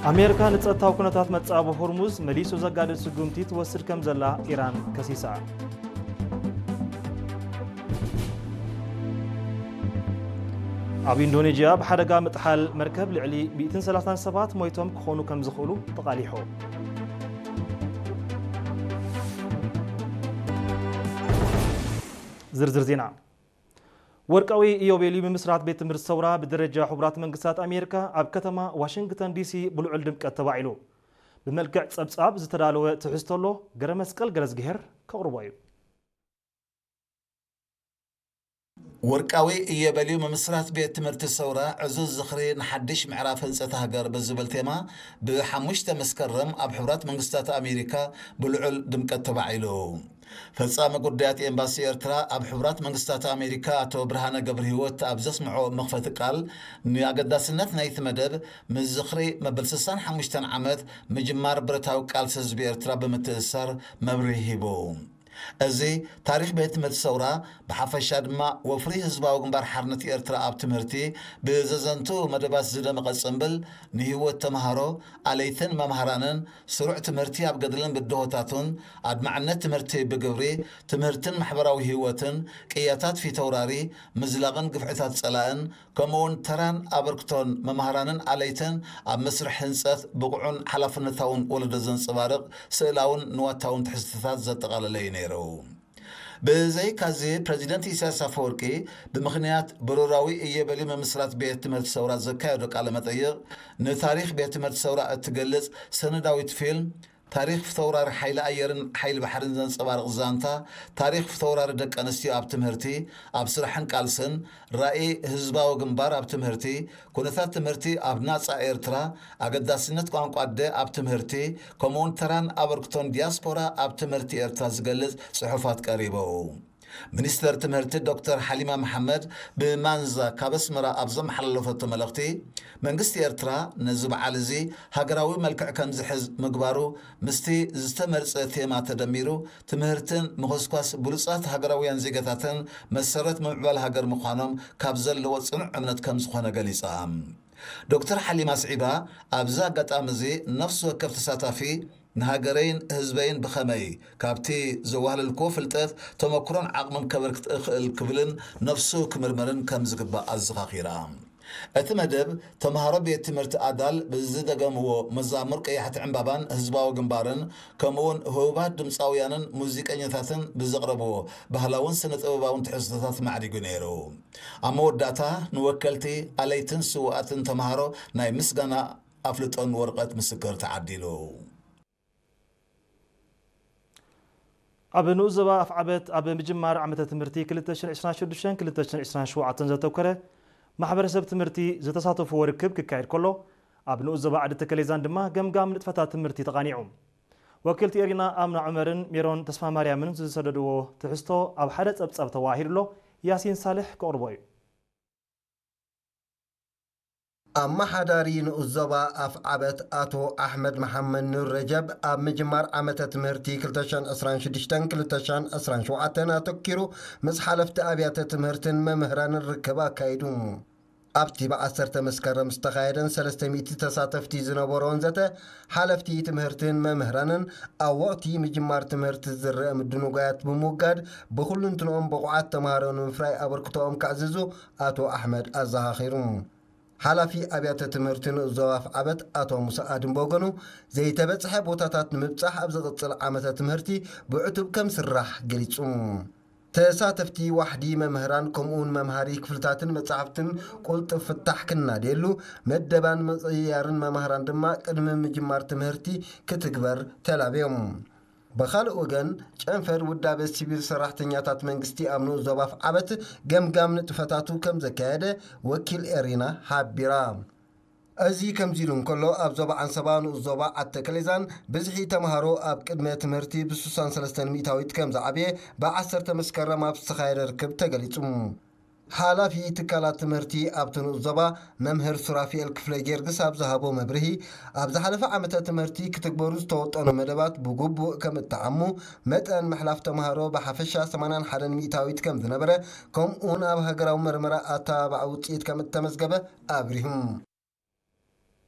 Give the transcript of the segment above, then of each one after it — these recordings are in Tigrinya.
ኣሜሪካ ንጸጥታዊ ኩነታት መጻብ ሆርሙዝ መሊሱ ዘጋድድ ስጉምቲ ትወስድ ከም ዘላ ኢራን ከሲሳ። ኣብ ኢንዶኔዥያ ብሓደጋ ምጥሓል መርከብ ልዕሊ ሚእትን ሰላሳን ሰባት ሞይቶም ክኾኑ ከም ዝኽእሉ ተቓሊሑ። ዝርዝር ዜና። ወርቃዊ ኢዮቤልዩ ምምስራት ቤት ትምህርቲ ሰውራ ብደረጃ ሕቡራት መንግስታት ኣሜሪካ ኣብ ከተማ ዋሽንግተን ዲሲ ብልዑል ድምቀት ተባዒሉ። ብመልክዕ ጸብጻብ ዝተዳለወ ትሕዝቶ ኣሎ፣ ገረ መስቀል ገረዝግሄር ከቕርቦ እዩ። ወርቃዊ ኢዮቤልዩ ምምስራት ቤት ትምህርቲ ሰውራ ዕዙዝ ዝኽሪ ንሓድሽ ምዕራፍ ህንጸት ሃገር ብዝብል ቴማ ብሓሙሽተ መስከረም ኣብ ሕቡራት መንግስታት ኣሜሪካ ብልዑል ድምቀት ተባዒሉ። ፈጻሚ ጉዳያት ኤምባሲ ኤርትራ ኣብ ሕቡራት መንግስታት ኣሜሪካ ኣቶ ብርሃነ ገብረሂወት ኣብ ዘስምዖ መኽፈቲ ቃል፣ ንኣገዳስነት ናይቲ መደብ ምስ ዝኽሪ መበል ስሳን ሓሙሽተን ዓመት ምጅማር ብረታዊ ቃልሲ ህዝቢ ኤርትራ ብምትእስሳር መብርሂ ሂቡ። እዚ ታሪኽ ቤት ትምህርቲ ሰውራ፣ ብሓፈሻ ድማ ወፍሪ ህዝባዊ ግንባር ሓርነት ኤርትራ ኣብ ትምህርቲ ብዘዘንቱ መደባት ዝደመቐ ጽምብል፣ ንህይወት ተምሃሮ፣ ኣለይትን መምሃራንን፣ ስሩዕ ትምህርቲ ኣብ ገድልን ብድሆታቱን፣ ኣድማዕነት ትምህርቲ ብግብሪ፣ ትምህርትን ማሕበራዊ ህይወትን፣ ቅያታት ፊተውራሪ፣ ምዝላቕን ግፍዕታት ጸላእን፣ ከምኡውን ተራን ኣበርክቶን መምሃራንን ኣለይትን ኣብ መስርሕ ህንጸት ብቑዕን ሓላፍነታውን ወለዶ ዘንጸባርቕ ስእላውን ንዋታውን ትሕዝቶታት ዘጠቓለለ እዩ ነይሩ። ብዘይካዚ፣ ፕረዚደንት ኢሳያስ ኣፈወርቂ ብምኽንያት ብሩራዊ ኢዮቤልዩ ምምስራት ቤት ትምህርቲ ሰውራ ዘካየዶ ቃለ መጠይቕ፣ ንታሪኽ ቤት ትምህርቲ ሰውራ እትገልጽ ሰነዳዊት ፊልም፣ ታሪኽ ፊተውራሪ ሓይሊ ኣየርን ሓይሊ ባሕርን ዘንጸባርቕ ዛንታ፣ ታሪኽ ፊተውራሪ ደቂ ኣንስትዮ ኣብ ትምህርቲ፣ ኣብ ስራሕን ቃልስን፣ ራእይ ህዝባዊ ግንባር ኣብ ትምህርቲ፣ ኩነታት ትምህርቲ ኣብ ናጻ ኤርትራ፣ ኣገዳስነት ቋንቋ ኣደ ኣብ ትምህርቲ፣ ከምኡውን ተራን ኣበርክቶን ዲያስፖራ ኣብ ትምህርቲ ኤርትራ ዝገልጽ ጽሑፋት ቀሪቡ። ሚኒስተር ትምህርቲ ዶክተር ሓሊማ መሓመድ ብማንዛ ካብ ኣስመራ ኣብ ዘመሓላለፈቶ መልእኽቲ፣ መንግስቲ ኤርትራ ነዚ በዓል እዚ ሃገራዊ መልክዕ ከም ዝሕዝ ምግባሩ ምስቲ ዝተመርጸ ቴማ ተደሚሩ፣ ትምህርትን ምኹስኳስ ብሉጻት ሃገራውያን ዜጋታትን መሰረት ምምዕባል ሃገር ምዃኖም ካብ ዘለዎ ጽኑዕ እምነት ከም ዝኾነ ገሊጻ። ዶክተር ሓሊማ ኣስዒባ፣ ኣብዚ ኣጋጣሚ እዚ ነፍሲ ወከፍ ተሳታፊ ንሃገረይን ህዝበይን ብኸመይ ካብቲ ዘዋህለልክዎ ፍልጠት፣ ተመክሮን ዓቕምን ከበርክት እኽእል ክብልን ነፍሱ ክምርምርን ከም ዝግባእ ኣዘኻኺራ። እቲ መደብ፣ ተምሃሮ ቤት ትምህርቲ ኣዳል ብዝደገምዎ መዛሙር ቀያሕቲ ዕምባባን ህዝባዊ ግንባርን፣ ከምኡውን ህቡባት ድምጻውያንን ሙዚቀኛታትን ብዘቕረብዎ ባህላውን ስነ-ጥበባውን ትሕዝቶታት ማዕሪጉ ነይሩ። ኣብ መወዳእታ፣ ንወከልቲ ኣለይትን ስውኣትን ተምሃሮ ናይ ምስጋና ኣፍልጦን ወረቐት ምስክር ተዓዲሉ። ኣብ ንኡስ ዞባ ኣፍዓበት ኣብ ምጅማር ዓመተ ትምህርቲ ክልተ ሽሕን ዕስራን ሽዱሽተን ክልተ ሽሕን ዕስራን ሸውዓተን ዘተኮረ ማሕበረሰብ ትምህርቲ ዝተሳተፍዎ ርክብ ክካየድ ከሎ፣ ኣብ ንኡስ ዞባ ዓዲ ተከሌዛን ድማ ገምጋም ንጥፈታት ትምህርቲ ተቓኒዑ። ወኪልቲ ኤሪና ኣምና ዑመርን ሜሮን ተስፋማርያምን ዝሰደድዎ ትሕዝቶ ኣብ ሓደ ጸብጻብ ተዋሂዱ ኣሎ። ያሲን ሳልሕ ከቕርቦ እዩ። ኣመሓዳሪ ንኡስ ዞባ ኣፍዓበት ኣቶ ኣሕመድ መሓመድ ኑር ረጀብ፣ ኣብ ምጅማር ዓመተ ትምህርቲ ክልተ ሽሕን ዕስራን ሽዱሽተን ክልተ ሽሕን ዕስራን ሸውዓተን ኣተኪሩ ምስ ሓለፍቲ ኣብያተ ትምህርትን መምህራንን ርክብ ኣካይዱ። ኣብቲ ብዓሰርተ መስከረም ዝተኻየደን ሰለስተ ሚእቲ ተሳተፍቲ ዝነበሮን ዘተ፣ ሓለፍቲ ትምህርትን መምህራንን ኣብ ወቕቲ ምጅማር ትምህርቲ ዝረአ ምድንጓያት ብምውጋድ፣ ብኹልንትንኦም ብቑዓት ተምሃሮ ንምፍራይ ኣበርክቶኦም ከዕዝዙ ኣቶ ኣሕመድ ኣዘኻኺሩ። ሓላፊ ኣብያተ ትምህርቲ ንኡስ ዞባ ኣፍዓበት ኣቶ ሙሳ ኣድም ብወገኑ፣ ዘይተበጽሐ ቦታታት ንምብጻሕ ኣብ ዝቕጽል ዓመተ ትምህርቲ ብዕቱብ ከም ዝስራሕ ገሊጹ። ተሳተፍቲ ዋሕዲ መምህራን ከምኡውን መምሃሪ ክፍልታትን መጻሕፍትን ቁልጡፍ ፍታሕ ክናደየሉ፣ መደባን ምቕይያርን መማህራን ድማ ቅድሚ ምጅማር ትምህርቲ ክትግበር ተላብዮም። ብኻልእ ወገን፣ ጨንፈር ውዳበ ሲቪል ሰራሕተኛታት መንግስቲ ኣብ ንኡስ ዞባ ኣፍዓበት ገምጋም ንጥፈታቱ ከም ዘካየደ ወኪል ኤሪና ሓቢራ። እዚ ከምዚ ኢሉ እንከሎ፣ ኣብ ዞባ ዓንሰባ ንኡስ ዞባ ዓዲ ተከሌዛን ብዝሒ ተምሃሮ ኣብ ቅድመ ትምህርቲ ብ ስሳን ሰለስተን ሚእታዊት ከም ዝዓብየ ብ ዓሰርተ መስከረም ኣብ ዝተኻየደ ርክብ ተገሊጹ። ሓላፊ ትካላት ትምህርቲ ኣብቲ ንኡስ ዞባ መምህር ሱራፊኤል ክፍለ ጊዮርጊስ ኣብ ዝሃቦ መብርሂ፣ ኣብ ዝሓለፈ ዓመተ ትምህርቲ ክትግበሩ ዝተወጠኑ መደባት ብግቡእ ከም እተዓሙ፣ መጠን ምሕላፍ ተምሃሮ ብሓፈሻ ሰማንያን ሓደን ሚእታዊት ከም ዝነበረ፣ ከምኡውን ኣብ ሃገራዊ መርመራ ኣተባባዒ ውጽኢት ከም እተመዝገበ ኣብሪሁ።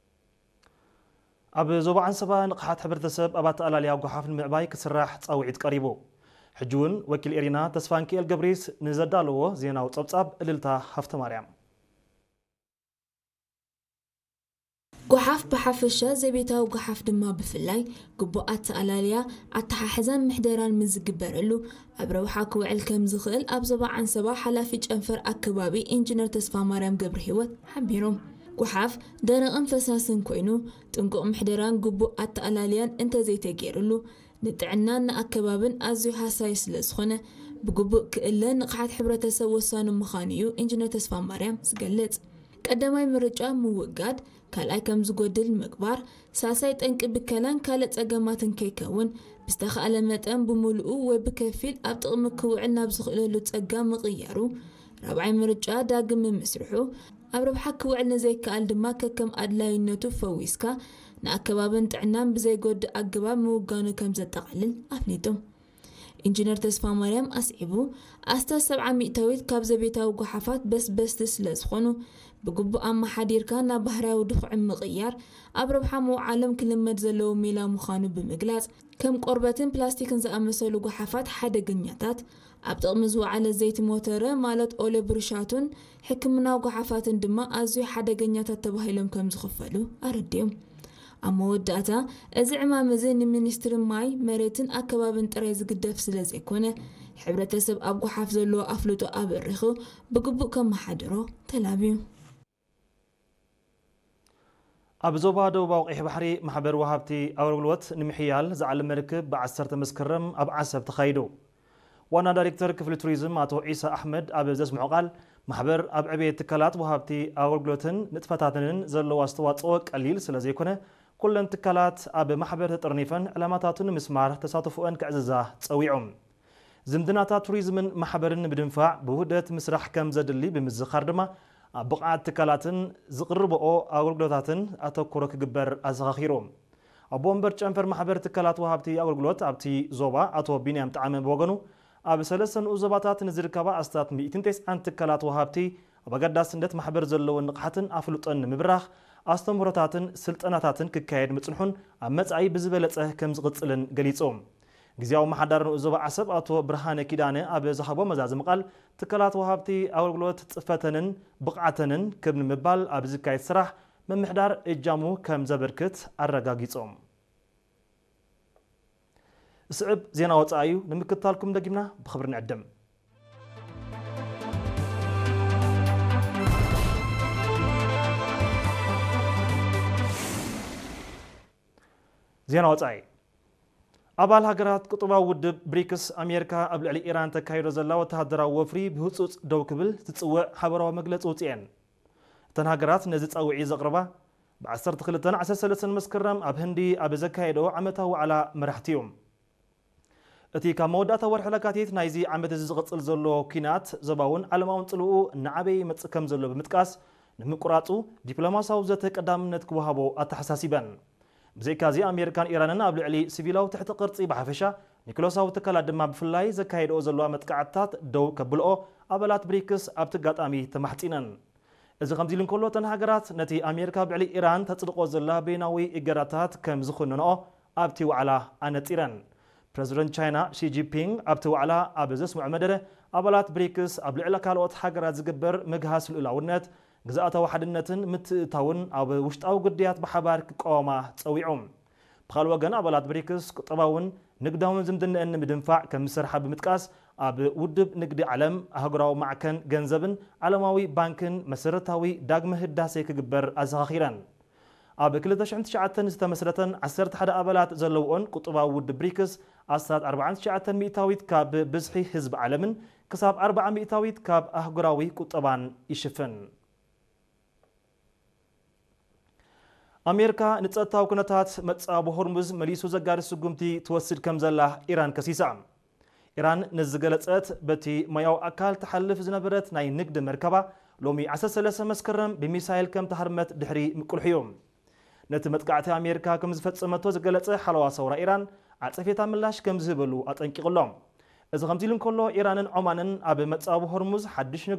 ኣብ ዞባ ዓንሰባ ንቕሓት ሕብረተሰብ ኣብ ኣተኣላልያ ጓሓፍ ንምዕባይ ክስራሕ ጻውዒት ቀሪቡ። ሕጂ እውን ወኪል ኤሪና ተስፋንኪኤል ገብሪስ ንዘዳለዎ ዜናዊ ጸብጻብ እልልታ ሃፍተ ማርያም። ጓሓፍ ብሓፈሻ ዘቤታዊ ጓሓፍ ድማ ብፍላይ ግቡእ ኣተኣላልያ፣ ኣተሓሕዛን ምሕደራን ምዝግበረሉ ኣብ ረብሓ ክውዕል ከም ዝኽእል ኣብ ዞባ ዓንሰባ ሓላፊ ጨንፈር ኣከባቢ ኢንጂነር ተስፋ ማርያም ገብረ ህይወት ሓቢሮም። ጓሓፍ ደረቕን ፈሳስን ኮይኑ ጥንቁቕ ምሕደራን ግቡእ ኣተኣላልያን እንተዘይተገይርሉ ንጥዕናን ንኣከባብን ኣዝዩ ሃሳይ ስለ ዝኾነ ብግቡእ ክእለ ንቕሓት ሕብረተሰብ ወሳኒ ምዃኑ እዩ ኢንጂነር ተስፋ ማርያም ዝገልጽ። ቀዳማይ ምርጫ ምውጋድ፣ ካልኣይ ከም ዝጎድል ምግባር፣ ሳልሳይ ጠንቂ ብከላን ካልእ ጸገማትን ከይከውን ብዝተኻእለ መጠን ብምሉኡ ወይ ብከፊል ኣብ ጥቕሚ ክውዕል ናብ ዝኽእለሉ ጸጋ ምቕያሩ፣ ራብዓይ ምርጫ ዳግም ምምስርሑ፣ ኣብ ረብሓ ክውዕል ንዘይከኣል ድማ ከከም ኣድላይነቱ ፈዊስካ ንኣከባብን ጥዕናን ብዘይጎድእ ኣገባብ ምውጋኑ ከም ዘጠቓልል ኣፍሊጡ። ኢንጂነር ተስፋ ማርያም ኣስዒቡ፣ ኣስታት ሰብዓ ሚእታዊት ካብ ዘቤታዊ ጓሓፋት በስበስቲ ስለ ዝኾኑ ብግቡእ ኣመሓዲርካ ናብ ባህርያዊ ድኹዒ ምቕያር ኣብ ረብሓ ምውዓሎም ክልመድ ዘለዎ ሜላ ምዃኑ ብምግላጽ፣ ከም ቆርበትን ፕላስቲክን ዝኣመሰሉ ጓሓፋት ሓደገኛታት፣ ኣብ ጥቕሚ ዝወዓለ ዘይቲ ሞተረ ማለት ኦለ ብሩሻቱን ሕክምናዊ ጓሓፋትን ድማ ኣዝዩ ሓደገኛታት ተባሂሎም ከም ዝኽፈሉ ኣረዲኦም። ኣብ መወዳእታ፣ እዚ ዕማም እዚ ንሚኒስትሪ ማይ፣ መሬትን ኣከባብን ጥራይ ዝግደፍ ስለ ዘይኮነ፣ ሕብረተሰብ ኣብ ጓሓፍ ዘለዎ ኣፍልጦ ኣበሪኹ ብግቡእ ከመሓድሮ ተላብዩ። ኣብ ዞባ ደቡባዊ ቀይሕ ባሕሪ ማሕበር ወሃብቲ ኣገልግሎት ንምሕያል ዝዓለመ ርክብ ብ ዓሰርተ መስከረም ኣብ ዓሰብ ተኻይዱ። ዋና ዳይሬክተር ክፍሊ ቱሪዝም ኣቶ ዒሳ ኣሕመድ ኣብ ዘስምዖ ቃል፣ ማሕበር ኣብ ዕብየት ትካላት ወሃብቲ ኣገልግሎትን ንጥፈታትንን ዘለዎ ኣስተዋጽኦ ቀሊል ስለ ዘይኮነ፣ ኩለን ትካላት ኣብ ማሕበር ተጠርኒፈን ዕላማታቱ ንምስማር ተሳትፎአን ክዕዝዛ ጸዊዑ። ዝምድናታት ቱሪዝምን ማሕበርን ንምድንፋዕ ብውህደት ምስራሕ ከም ዘድሊ ብምዝኻር ድማ፣ ኣብ ብቕዓት ትካላትን ዝቕርብኦ ኣገልግሎታትን ኣተኩሮ ክግበር ኣዘኻኺሩ። ኣቦ ወንበር ጨንፈር ማሕበር ትካላት ወሃብቲ ኣገልግሎት ኣብቲ ዞባ ኣቶ ቢንያም ጠዓመ ብወገኑ፣ ኣብ ሰለስተ ንኡስ ዞባታት ንዝርከባ ኣስታት ሚእትን ተስዓን ትካላት ወሃብቲ ኣብ ኣገዳስነት ማሕበር ዘለወን ንቕሓትን ኣፍልጦን ንምብራኽ ኣስተምህሮታትን ስልጠናታትን ክካየድ ምጽንሑን ኣብ መጻኢ ብዝበለጸ ከም ዝቕጽልን ገሊጹ። ግዝያዊ ኣመሓዳሪ ንኡስ ዞባ ዓሰብ ኣቶ ብርሃነ ኪዳነ ኣብ ዝሃቦ መዛዘሚ ቃል፣ ትካላት ወሃብቲ ኣገልግሎት ጽፈተንን ብቕዓተንን ክብ ንምባል ኣብ ዝካየድ ስራሕ ምምሕዳር እጃሙ ከም ዘበርክት ኣረጋጊጾም። ዝስዕብ ዜና ወጻኢ እዩ፣ ንምክትታልኩም ደጊምና ብኽብሪ ንዕድም። ዜና ወጻኢ። ኣባል ሃገራት ቁጠባዊ ውድብ ብሪክስ፣ ኣሜሪካ ኣብ ልዕሊ ኢራን ተካይዶ ዘላ ወተሃደራዊ ወፍሪ ብህጹጽ ደው ክብል ዝጽውዕ ሓበራዊ መግለጺ ውጽኤን። እተን ሃገራት ነዚ ጻውዒት ዘቕርባ ብ ዓሰርተ ክልተን ዓሰርተ ሰለስተን መስከረም ኣብ ህንዲ ኣብ ዘካየዶ ዓመታዊ ዋዕላ መራሕቲ እዩ። እቲ ካብ መወዳእታ ወርሒ ለካቲት ናይዚ ዓመት እዚ ዝቕጽል ዘሎ ኲናት ዞባውን ዓለማውን ጽልኡ እናዓበየ ይመጽእ ከም ዘሎ ብምጥቃስ፣ ንምቁራጹ ዲፕሎማሲያዊ ዘተ ቀዳምነት ክወሃቦ ኣተሓሳሲበን። ብዘይካዚ ኣሜሪካን ኢራንን ኣብ ልዕሊ ሲቪላዊ ትሕቲ ቅርጺ ብሓፈሻ፣ ኒክሎሳዊ ትካላት ድማ ብፍላይ ዘካየድኦ ዘለዋ መጥቃዕትታት ደው ከብልኦ ኣባላት ብሪክስ ኣብቲ ኣጋጣሚ ተማሕጺነን። እዚ ከምዚ ኢሉ እንከሎ፣ እተን ሃገራት ነቲ ኣሜሪካ ኣብ ልዕሊ ኢራን ተጽድቆ ዘላ በይናዊ እገዳታት ከም ዝኹንንኦ ኣብቲ ዋዕላ ኣነጺረን። ፕረዚደንት ቻይና ሺ ጂንፒንግ ኣብቲ ዋዕላ ኣብ ዘስምዖ መደረ፣ ኣባላት ብሪክስ ኣብ ልዕሊ ካልኦት ሃገራት ዝግበር ምግሃስ ልኡላውነት፣ ግዝኣታዊ ሓድነትን ምትእትታውን ኣብ ውሽጣዊ ግዳያት ብሓባር ክቃወማ ጸዊዑ። ብኻልእ ወገን፣ ኣባላት ብሪክስ ቁጠባውን ንግዳውን ዝምድነአን ንምድንፋዕ ከም ዝሰርሓ ብምጥቃስ፣ ኣብ ውድብ ንግዲ ዓለም፣ ኣህጉራዊ ማዕከን ገንዘብን ዓለማዊ ባንክን መሰረታዊ ዳግመ ህዳሴ ክግበር ኣዘኻኺረን። ኣብ ክልተ ሽሕን ትሽዓተን ዝተመስረተን ዓሰርተ ሓደ ኣባላት ዘለውኦን ቁጠባዊ ውድብ ብሪክስ፣ ኣስታት ኣርባዓን ትሽዓተን ሚእታዊት ካብ ብዝሒ ህዝቢ ዓለምን ክሳብ ኣርባዓ ሚእታዊት ካብ ኣህጉራዊ ቁጠባን ይሽፍን። ኣሜሪካ ንጸጥታዊ ኩነታት መጻብ ሆርሙዝ መሊሱ ዘጋድድ ስጉምቲ ትወስድ ከም ዘላ ኢራን ከሲሳ። ኢራን ነዚ ዝገለጸት፣ በቲ ማያዊ ኣካል ትሓልፍ ዝነበረት ናይ ንግዲ መርከባ ሎሚ ዓሰርተ ሰለስተ መስከረም ብሚሳይል ከም ተሃርመት ድሕሪ ምቅልሑ እዩ። ነቲ መጥቃዕቲ ኣሜሪካ ከም ዝፈጸመቶ ዝገለጸ ሓለዋ ሰውራ ኢራን፣ ዓጸፌታ ምላሽ ከም ዝህበሉ ኣጠንቂቑ ኣሎ። እዚ ከምዚ ኢሉ እንከሎ፣ ኢራንን ዖማንን ኣብ መጻብ ሆርሙዝ ሓድሽ ንግዲ